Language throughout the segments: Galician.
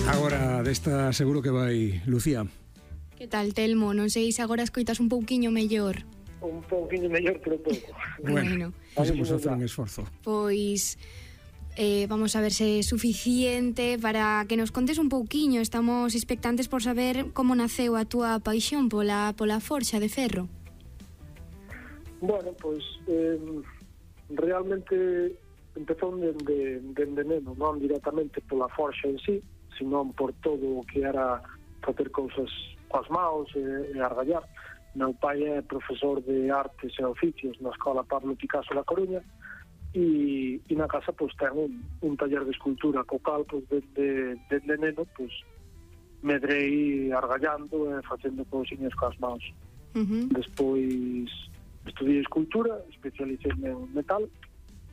Agora desta seguro que vai Lucía. Que tal, Telmo? Non sei se agora escoitas un pouquiño mellor. Un pouquiño mellor, pero pouco. Bueno, vamos a facer un esforzo. Pois vamos a ver se é suficiente para que nos contes un pouquiño. Estamos expectantes por saber como naceu a túa paixón pola forxa de ferro. Bueno, pois realmente empezou dende neno, non directamente pola forxa en sí, senón por todo o que era facer cousas coas maus e argallar. Meu pai é profesor de artes e oficios na Escola Pablo Picasso da Coruña e na casa pois ten un taller de escultura co cal pois dende neno pois medrei argallando e facendo cousiñas coas mãos. Despois estudiei escultura, especialicei en metal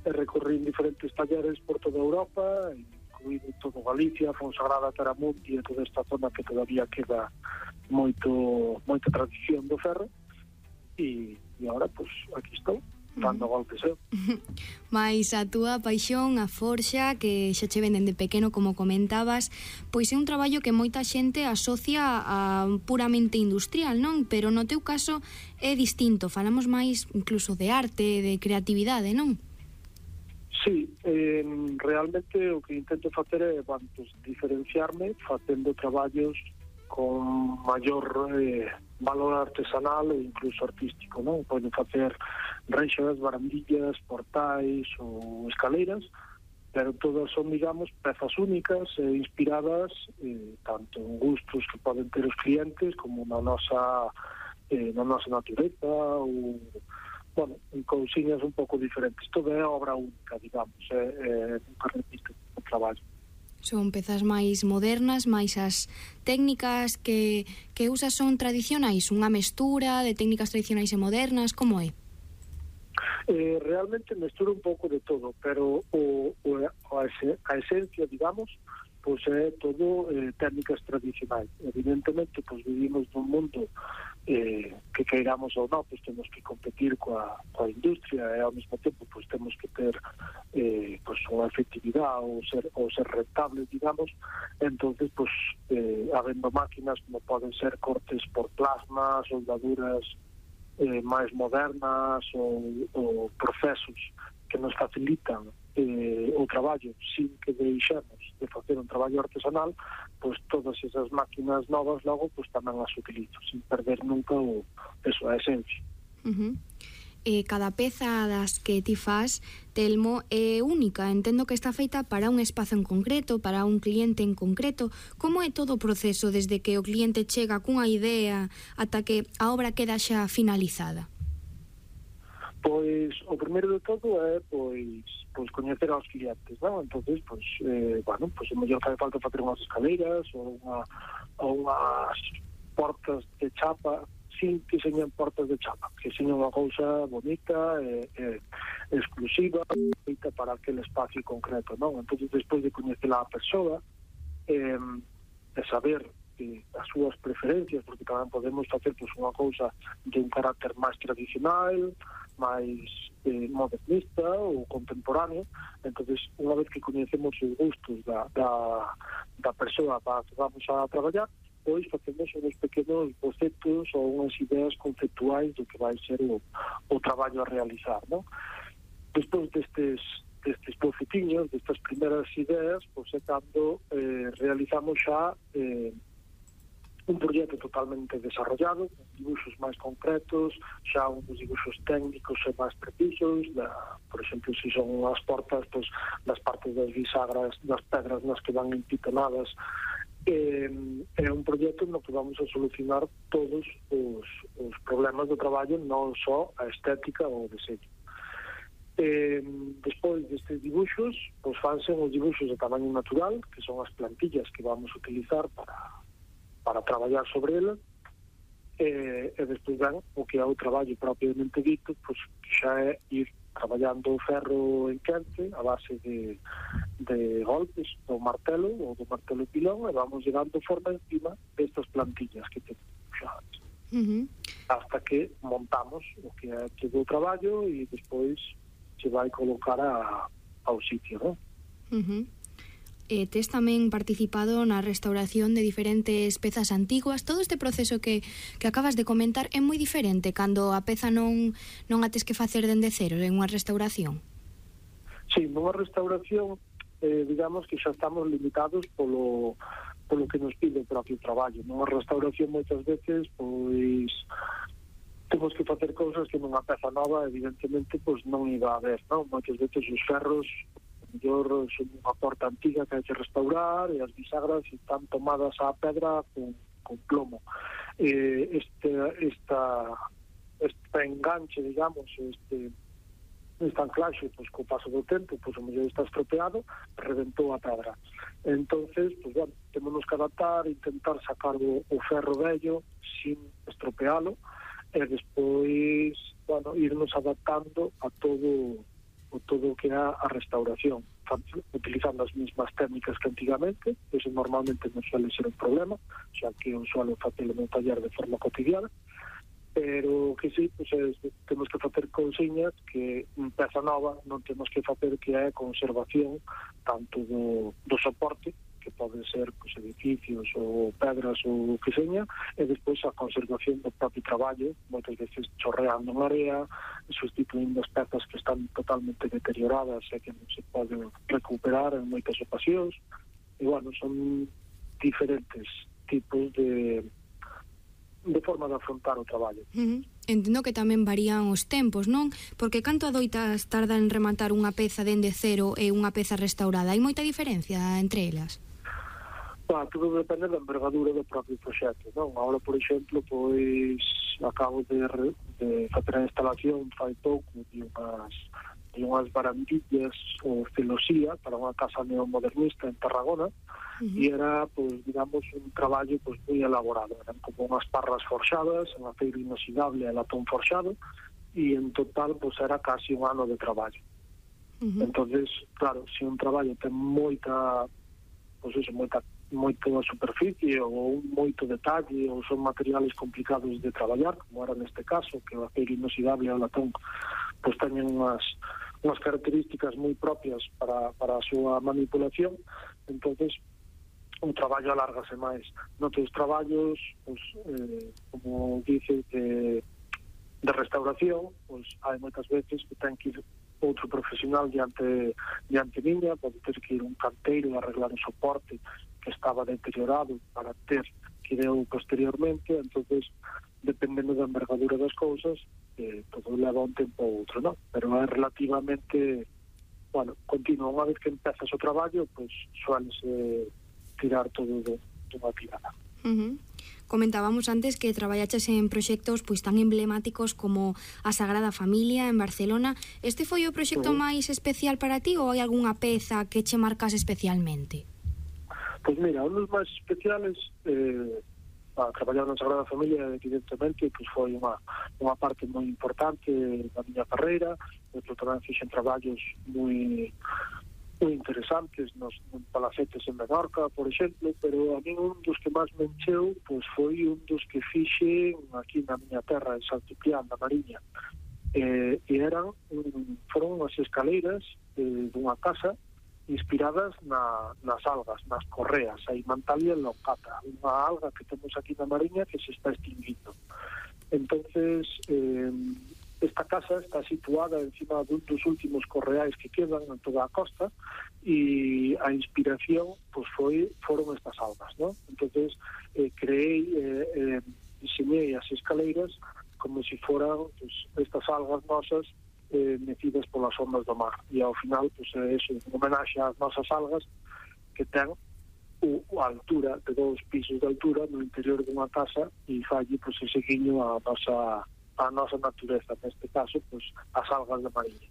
e recorri en diferentes talleres por toda Europa, incluído todo Galicia, Fonsagrada, Taramundi e toda esta zona que todavía queda moita tradición do ferro e agora, pois, aquí estou dando golpes eu. Mais a túa paixón, a forxa, que xa che ven dende pequeno, como comentabas, pois é un traballo que moita xente asocia a puramente industrial, non? Pero no teu caso é distinto, falamos máis incluso de arte, de creatividade, non? Sí, realmente o que intento facer é, pues, diferenciarme facendo traballos con maior valor artesanal e incluso artístico, non? Poden facer reixas, barandillas, portais ou escaleiras, pero todas son, digamos, pezas únicas e inspiradas tanto en gustos que poden ter os clientes como na nosa natureza ou, bueno, en cousiñas un pouco diferentes. Todo é obra única, digamos, nunca repito o traballo. Son pezas máis modernas, máis as técnicas que usas son tradicionais, unha mestura de técnicas tradicionais e modernas, como é? Realmente mestura un pouco de todo, pero a esencia, digamos, pois é todo técnicas tradicionais. Evidentemente, pois vivimos nun mundo que queiramos ou non, pois temos que competir coa industria e ao mesmo tempo pois temos que ter pois unha efectividade ou ser rentable, digamos. Entonces, pois habendo máquinas como poden ser cortes por plasma, soldaduras máis modernas ou procesos que nos facilitan o traballo sin que deixemos de facer un traballo artesanal, pois todas esas máquinas novas logo pois tamén as utilizo sin perder nunca a esencia. Cada peza das que ti fas, Telmo, é única. Entendo que está feita para un espazo en concreto, para un cliente en concreto. Como é todo o proceso desde que o cliente chega cunha idea ata que a obra queda xa finalizada? Pois o primeiro de todo é pois coñecer aos clientes, non? Entonces, bueno, o mellor fai falta facer unhas escaleiras ou unhas portas de chapa, sin que señan portas de chapa, que señan unha cousa bonita e exclusiva, feita para aquele espacio concreto, non? Entonces, despois de coñecer a persoa e saber as súas preferencias, porque tamén podemos facer unha cousa de un carácter máis tradicional, máis modernista ou contemporáneo. Entonces, unha vez que coñecemos os gustos da persoa para que vamos a traballar, pois facemos uns pequenos bocetos ou unhas ideas conceptuais do que vai ser o traballo a realizar, non? Despois destes bocetiños, destas primeiras ideas, pois é cando realizamos xa un proxecto totalmente desarrollado, con dibuxos máis concretos, xa uns dibuxos técnicos e máis precisos, por exemplo, se son as portas, pois, das partes das bisagras, das pedras nas que van empitonadas. É un proxecto no que vamos a solucionar todos os problemas do traballo, non só a estética ou o deseño. Despois destes dibuxos, pois fanse os dibuxos de tamaño natural, que son as plantillas que vamos a utilizar para traballar sobre ela, e despois ben o que é o traballo propiamente dito, pois que xa é ir traballando o ferro en quente a base de golpes do martelo ou do martelo pilón, e vamos llegando forma encima destas plantillas que temos xa hasta que montamos o que é todo o traballo e despois se vai colocar ao sitio, non? tes tamén participado na restauración de diferentes pezas antiguas. Todo este proceso que acabas de comentar é moi diferente cando a peza non a tes que facer dende cero en unha restauración. Sí, nunha restauración digamos que xa estamos limitados polo que nos pide o propio traballo. Nunha restauración moitas veces pois temos que facer cousas que nunha peza nova evidentemente pois non iba a haber, non? Moitas veces os ferros mellor son unha porta antiga que hai que restaurar e as bisagras están tomadas á pedra con plomo. Esta enganche, digamos, este anclaxe, pois, co paso do tempo, pois, o mellor está estropeado, reventou a pedra. Entonces, pois, bueno, temos que adaptar, intentar sacar o ferro vello sin estropealo, e despois, bueno, irnos adaptando a todo o que é a restauración, utilizando as mesmas técnicas que antigamente. Eso normalmente non suele ser un problema, xa que eu suelo facelo no taller de forma cotidiana, pero que sí, pues, temos que facer cousiñas que en peza nova non temos que facer, que é conservación tanto do soporte, que poden ser pues, edificios ou pedras ou que seña, e despois a conservación do propio traballo, moitas veces chorreando en area, sustituindo as pezas que están totalmente deterioradas e que non se poden recuperar en moitas ocasións. E bueno, son diferentes tipos de forma de afrontar o traballo. Entendo que tamén varían os tempos, non? Porque canto adoitas tarda en rematar unha peza dende cero e unha peza restaurada? Hai moita diferencia entre elas? Tudo depende da envergadura do propio proxecto, non? Agora, por exemplo, pois acabo de facer a instalación fai pouco de unhas barandillas ou celosía para unha casa neomodernista en Tarragona, e era, pois, digamos, un traballo pois moi elaborado. Eran como unhas parras forxadas en aceiro inoxidable e latón forxado, e en total pois era casi un ano de traballo. Entonces, claro, se un traballo ten moita superficie ou moito detalle ou son materiales complicados de traballar, como era neste caso, que o aceiro inoxidable e o latón pois teñen unhas características moi propias para a súa manipulación. Entonces o traballo alárgase máis. Noutros traballos, pois, como dice, de restauración, pois hai moitas veces que ten que ir outro profesional diante miña, pode ter que ir un canteiro a arreglar o soporte que estaba deteriorado para ter que ir eu posteriormente. Entonces, dependendo da envergadura das cousas, todo leva un tempo ou outro, non? Pero é relativamente, bueno, continuo. Unha vez que empezas o traballo, pois suélese tirar todo dunha tirada. Comentábamos antes que traballaches en proxectos pois tan emblemáticos como a Sagrada Familia en Barcelona. Este foi o proxecto máis especial para ti ou hai algunha peza que che marcas especialmente? Pois mira, un dos máis especiales, traballar na Sagrada Familia, evidentemente, pois foi unha parte moi importante da miña carreira. Eu tamén fixen traballos moi interesantes nos palacetes en Menorca, por exemplo, pero a mí un dos que máis me encheu pois foi un dos que fixen aquí na miña terra, en Santipián, na Mariña. Foron unhas escaleiras dunha casa inspiradas nas algas, nas correas, a Imantalia locata, unha alga que temos aquí na Mariña que se está extinguindo. Entonces, esta casa está situada encima dun dos últimos correais que quedan en toda a costa, e a inspiración pois foron estas algas, ¿no? Entonces diseñei as escaleiras como se foran pois, estas algas nosas metidas polas ondas do mar, e ao final pois, é eso, un homenaxe ás nosas algas que ten a altura de 2 pisos de altura no interior dunha casa, e falle pois, ese guiño a nosa natureza, neste caso, pois, as algas da Mariña.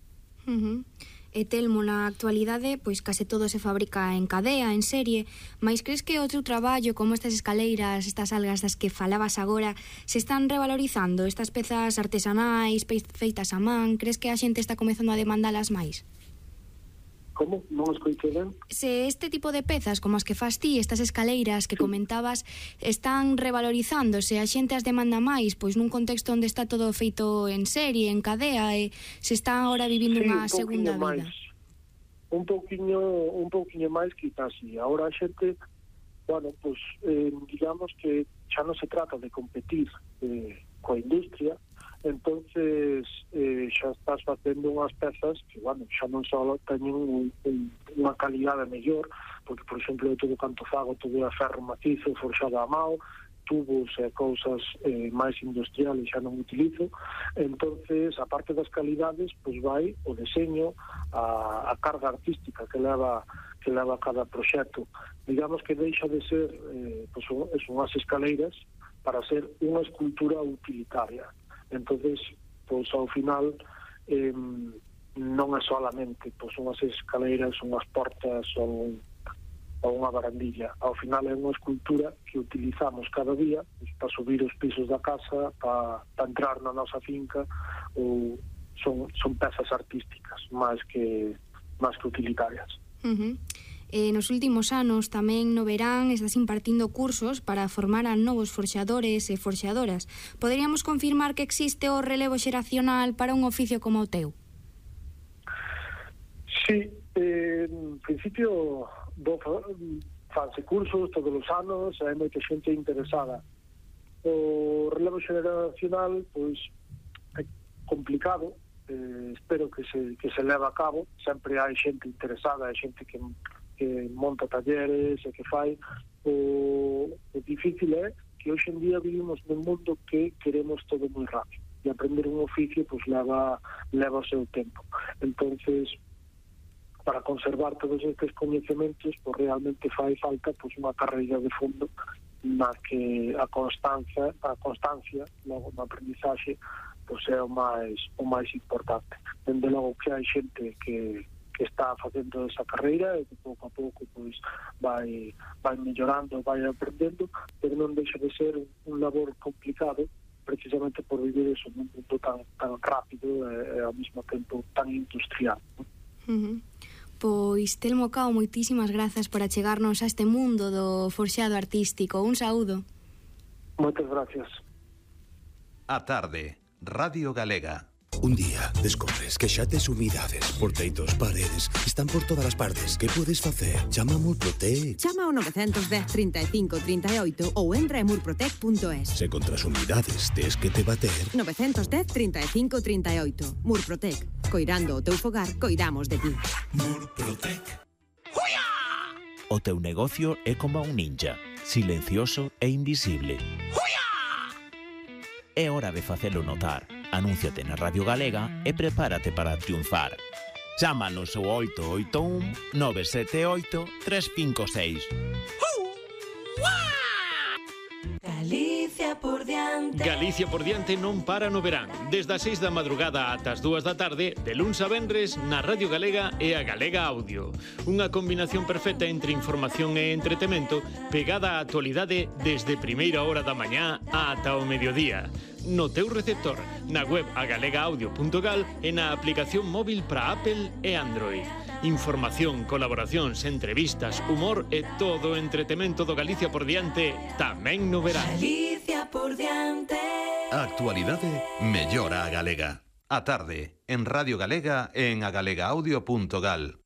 E Telmo, na actualidade, pois case todo se fabrica en cadea, en serie, mas crees que o teu traballo, como estas escaleiras, estas algas das que falabas agora, se están revalorizando, estas pezas artesanais, feitas a man? Crees que a xente está comezando a demandalas máis? Como? Non escoitei ben? Se este tipo de pezas, como as que fas ti, estas escaleiras que comentabas, están revalorizándose, a xente as demanda máis, pois nun contexto onde está todo feito en serie, en cadea, e se está agora vivindo unha segunda vida. un pouquiño máis quizás así. Ahora a xente, bueno, pues digamos que xa non se trata de competir coa industria, entonces xa estás facendo unhas pezas que, bueno, xa non só teñen unha calidade mellor, porque, por exemplo, todo canto fago, todo é ferro macizo, forxado a mao, tubos e cousas máis industriales xa non utilizo. Entonces, a parte das calidades, pois vai o deseño, a carga artística que leva cada proxecto. Digamos que deixa de ser pois unhas escaleiras para ser unha escultura utilitaria. Entonces, pois ao final non é solamente pois unhas escaleiras, unhas portas ou unha barandilla. Ao final é unha escultura que utilizamos cada día pois, para subir os pisos da casa, para entrar na nosa finca, ou son pezas artísticas máis que utilitarias. Nos últimos anos tamén no verán estás impartindo cursos para formar a novos forxadores e forxadoras. Poderíamos confirmar que existe o relevo xeracional para un oficio como o teu? Sí, en principio fanse cursos todos os anos, hai moita xente interesada. O relevo xeracional pois é complicado, espero que se leve a cabo. Sempre hai xente interesada, hai xente que monta talleres e que fai. O difícil é que hoxe en día vivimos nun mundo que queremos todo moi rápido, e aprender un oficio pois leva o seu tempo. Entonces, para conservar todos estes coñecementos, pois realmente fai falta pois unha carreira de fondo na que a constancia logo na aprendizaxe pois é o máis importante. Dende logo que hai xente que está facendo esa carreira e que pouco a pouco pois vai mellorando, vai aprendendo, pero non deixa de ser un labor complicado, precisamente por vivir eso nun mundo tan rápido e ao mesmo tempo tan industrial. Pois, Telmo Cao, moitísimas grazas por achegarnos a este mundo do forxado artístico. Un saúdo. Moitas gracias. A tarde, Radio Galega. Un día descobres que xa tes humidades por teitos, paredes, están por todas as partes. Que podes facer? Chama a Murprotec. Chama ao 910 35 38 ou entra en murprotec.es. Se contra as humidades tes que te bater. 910 35 38. Murprotec. Coirando o teu fogar, coidamos de ti. Murprotec. O teu negocio é como un ninja, silencioso e invisible. É hora de facelo notar. Anúnciate na Radio Galega e prepárate para triunfar. Chámanos ao 881 978 356. Galicia por diante. Galicia por diante non para no verán. Desde as 6 da madrugada ata as 2 da tarde, de luns a venres, na Radio Galega e a Galega Audio. Unha combinación perfecta entre información e entretemento, pegada á actualidade desde primeira hora da mañá ata o mediodía. No teu receptor, na web agalegaaudio.gal e na aplicación móvil para Apple e Android. Información, colaboracións, entrevistas, humor e todo o entretemento do Galicia por diante tamén no verán. Galicia por diante. A actualidade mellora a galega. A tarde, en Radio Galega e en agalegaaudio.gal.